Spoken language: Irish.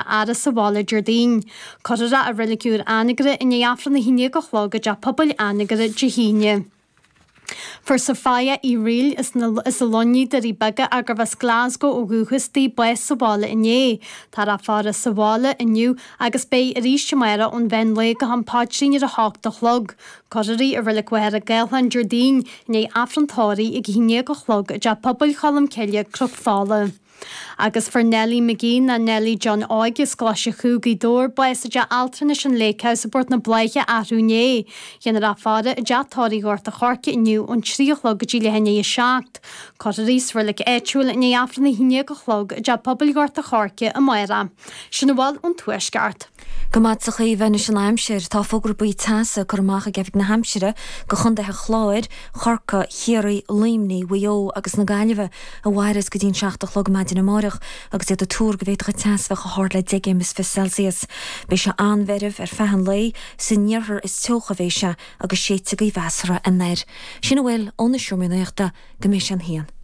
fhaire sa bhaile Déardaoin. Cuirfear é i Reilig Úr Anagaire i ndiaidh Aifreann 11 a chlog i dTeach Pobail Anagaire Dé hAoine. Fuair Sophia Uí Fhrighil as an Luinnigh, Doirí Beaga, ach gurbh as Glasgow ó dhúchas di, bás sa bhaile inné. Táthar á faire sa bhaile inniu agus beidh arís amárach ón mheán lae go ham paidrín ar a hocht a chlog. Cuirfear í i Reilig Mhachaire Gathlán Déardaoin i ndiaidh Aifreann tórraimh ag a 11 a chlog i dTeach Pobail Cholm Cille, Cnoc Fola. Agus fuair Nellie McGee ná Nellie John Óig as Coláiste Chú, Gaoth Dobhair, bás i dteach altranais an Lake House i bPort na Bláiche arú inné. Dhéanfar a faire i dteach tórraimh Ghort a' Choirce inniu ón 3 a chlog go dtí leath i ndiaidh a 7. Cuirfear í sa reilig áitiúil i ndiaidh Aifreann a 11 a chlog i dTeach Pobail Ghort a' Choirce amárach. Sin a bhfuil ón Tuaisceart. Go maith a Chaoimhe anois an aimsir. Tá fógra buí teasa curtha amach ag Oifig na hAimsire do chontaetha Chláir, Chorcaí, Chiarraí, Luimnigh, Mhaigh Eo agus na Gaillimhe a mhairfeas go dtí an 7 a chlog maidin amáireach agus iad ag tuar go bhféadfadh an teas bheith chomh hard le 10 gcéim is 20 Celsius. Beidh sé an-mheirbh ar feadh an lae, san iarthar is teocha a bheidh sé agus séidfidh gaoth mheasartha anoir. Sin a bhfuil ó na Seomraí Nuachta go mbeidh sé an haon.